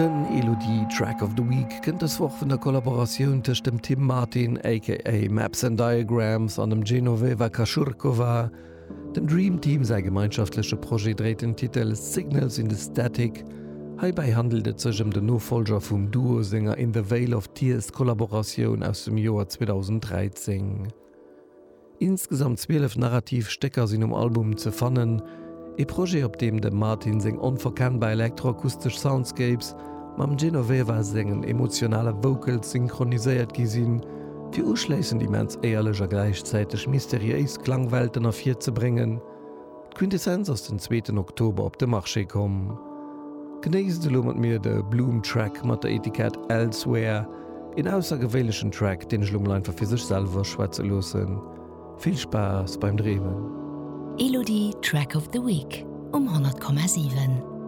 Den Elodie Track of the Week kënnt dës Woch vun der Kollaboratioun tëscht dem Tim Martin aka Maps and Diagrams an dem Genoveva Kashurkova. Dem Dream Team säi gemeinschaftleche Projet dréit den Titel Signals in the Static. Heibäi handelt et sech ëm den Nofollger vum Duo senger In the Vale of Tears Kollaboratioun aus dem Joer 2013. Insgesamt 12 narrativ Stécker sinn um Album ze fannen, ee Projet op deem dem Martin seng onverkennbar elektroakustesch Soundscapes mam Genoveva sengen emotionale Vocals synchroniséiert gi sinn, fir uschléissend immens éierlech a gläichzäiteg mysteriéis Klangwelten ervirzebréngen. D'Quintessenz ass den zweeten Oktober op de Marché komm. Genéisst elo mat mir de Bloom Track mat der Etikett Elsewhere, een aussergewéinlechen Track, deen ech elo mol einfach fir sech selwer schwätze loossen. Vill Spaass beim Dreemen! Elodie Track of the Week um 100,7.